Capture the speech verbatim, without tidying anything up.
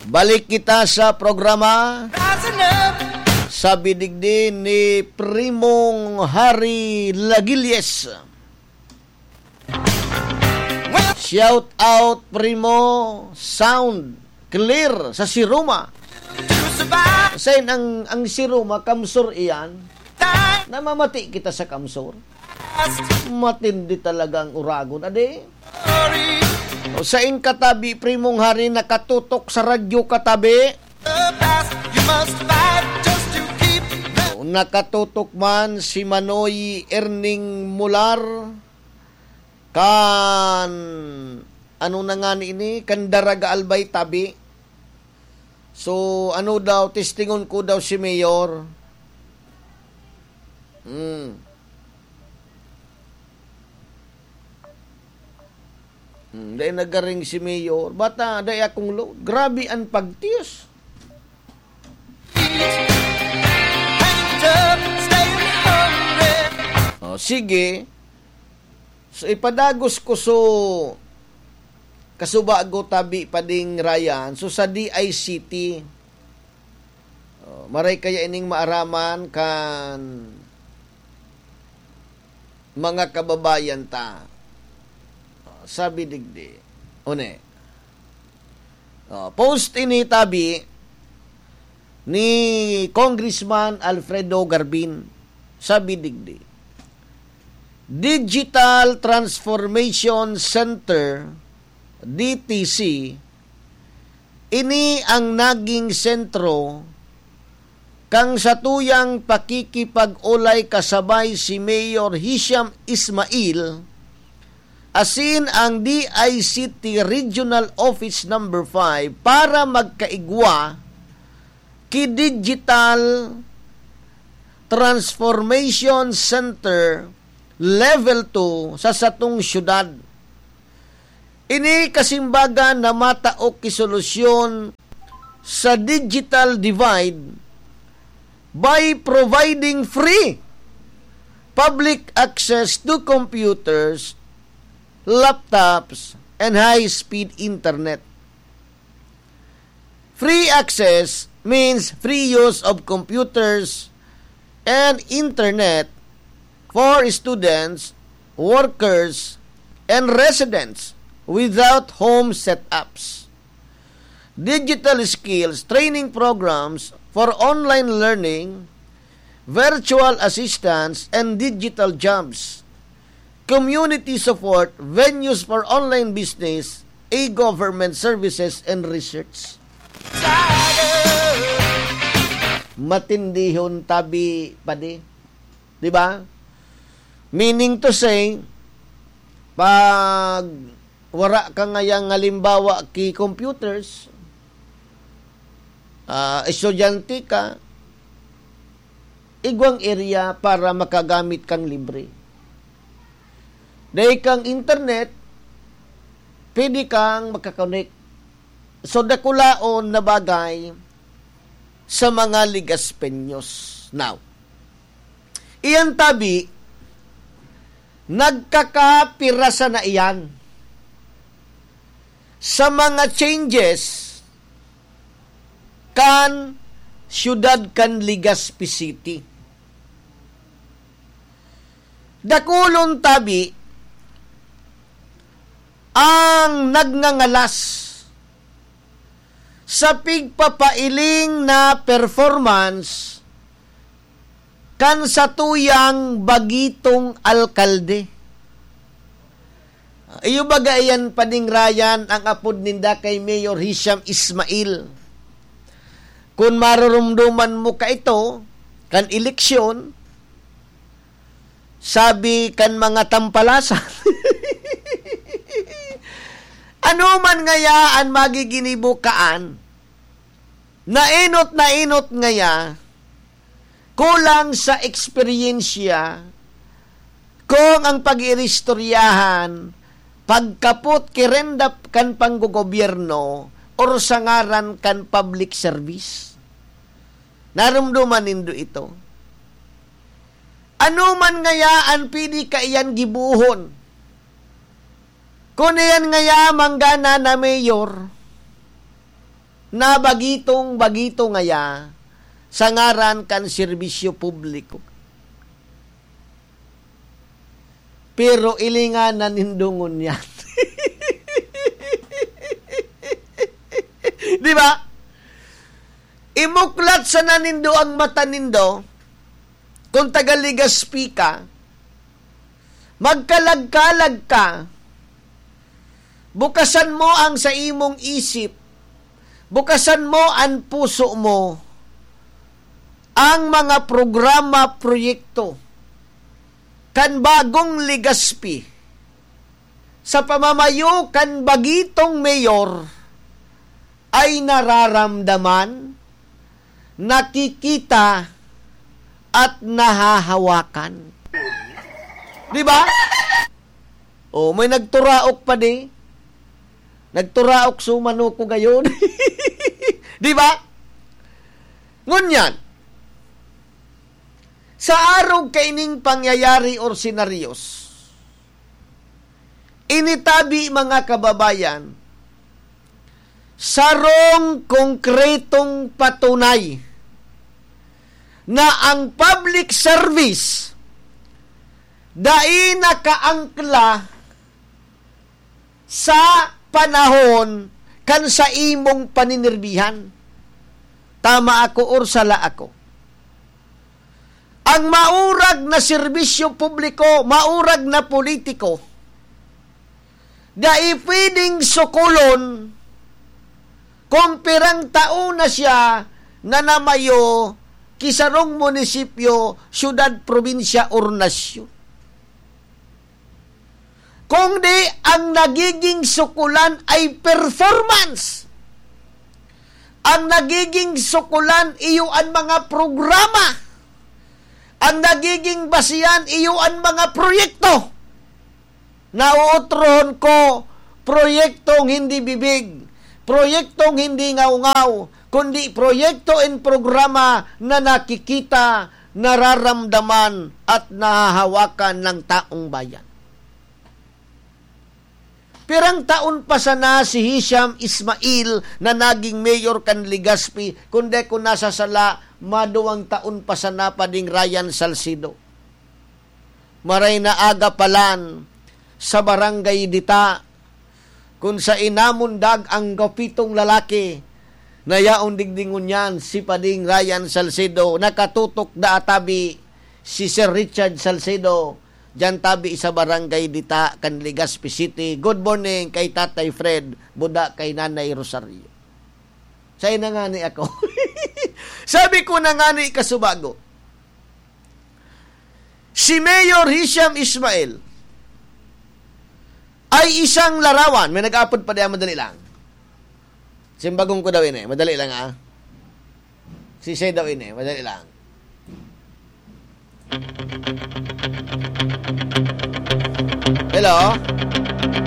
Balik kita sa programa. Sabi digdi ni Primong Harry Lagilles. Shout out, Primo. Sound clear sa Siruma. Sa ang, ang Siruma, Kamsur iyan. Namamati kita sa Kamsur. Matindi talaga ang Uragon, adi. O, sain katabi, Primong Hari, nakatutok sa radyo katabi? O, nakatutok man si Manoy Erning Mular kan, ano na nga ni ini, kan Daraga Albay tabi. So, ano daw, testingon ko daw si Mayor. Hmm. Hmm, dai nagaring si Mayor. Bata, dai akong load. Grabe ang pagtiyos. Oh, sige. So, ipadagos ko so kasubago tabi pa ding Ryan. So, sa D I C T, oh, maray kaya ining maaraman kan mga kababayan ta. Oh, sabi digdi. Une. Oh, post ini tabi ni Congressman Alfredo Garbin. Sabi digdi, Digital Transformation Center, D T C, ini ang naging sentro kan satuyang pakikipag-olay kasabay si Mayor Hisham Ismail asin ang D I C T Regional Office Number five para magkaigwa ki Digital Transformation Center Level two sa satong syudad. Ini kasimbagan na matao ki solusyon sa digital divide by providing free public access to computers, laptops, and high-speed internet. Free access means free use of computers and internet for students, workers, and residents without home setups. Digital skills training programs for online learning, virtual assistants, and digital jobs. Community support, venues for online business, e-government services, and research. Matindihon tabi, padi. Di ba? Meaning to say, pag wara ka ngayang halimbawa ki computers, ah, estudyante ka, igwang area para makagamit kang libre. Dai kang internet, pwede kang makakonek. So, dakulaon na bagay sa mga Ligaspeños. Now, iyan tabi, nagkakapirasa na iyan sa mga changes kan siyudad kan Legazpi City. Dakulon tabi ang nagngangalas sa pigpapailing na performance kan satuyang bagitong alkalde. Iyo baga iyan, Pading Ryan, ang apod ninda kay Mayor Hisham Ismail? Kun marurumduman mo kaito, kan eleksyon, sabi kan mga tampalasan, ano man ngaya an magiginibo kaan? Naenot, naenot ngaya, kulang sa eksperyensya, kung ang pag-iristoryahan, pagkapot ki renda kan panggogobyerno, or sa ngaran kan public service. Narumduman nindo ito? Ano man ngaya an pwede kaiyan gibohon? Kun iyan ngaya manggana na mayor, na bagitong-bagito ngaya sa ngaran kan serbisyo publiko. Pero ilingan na nindo ngunyan. Di ba? Imuklat sana nindo ang mata nindo, kung taga Legazpi ka, magkalag-kalag ka, bukasan mo ang sa imong isip, bukasan mo ang puso mo, ang mga programa, proyekto kan bagong Legazpi sa pamamayo kan bagitong mayor ay nararamdaman, nakikita, at nahahawakan. Di ba? O, may nagturaok pa di. Nagturaok sumano ko gayon. Di ba? Ngunyan, sa arog kaining pangyayari or senaryos, initabi, mga kababayan, sarong konkretong patunay na ang public service dai nakaangkla sa panahon kan sa imong paninirbihan. Tama ako or sala ako? Ang maurag na serbisyo publiko, maurag na politiko, dai pwedeng sukulon kung pirang taon na siya nanamayo ki sarong munisipyo, syudad, probinsya, or nasyon. Kundi ang nagiging sukulan ay performance. Ang nagiging sukulan iyo an mga programa. Ang nagiging basihan iyo an mga proyekto. Naootrohon ko, proyektong hindi bibig, proyektong hindi ngaw-ngaw, kundi proyekto and programa na nakikita, nararamdaman, at nahahawakan ng taong bayan. Pirang taon pa sana si Hisham Ismail na naging mayor kan Legazpi, kundi kung nasa sala, maduwang taon pa sana pa ding Ryan Salcedo. Maray na aga palan sa Barangay Dita, kun saen namundag ang gwapitong lalaki na yaon digdi ngunyan, si Pading Ryan Salcedo, nakatutok da atabi si Sir Richard Salcedo, diyan tabi sa Barangay Dita kan Legazpi City. Good morning kay Tatay Fred, buda kay Nanay Rosario. Saen na ngani ako. Sabi ko na ngani kasubago, si Mayor Hisham Ismail ay isang larawan. May nag-apod pa diyan, madali lang. Simbagong ko daw ini. Madali lang, ah. Sisay daw ini. Madali lang. Hello?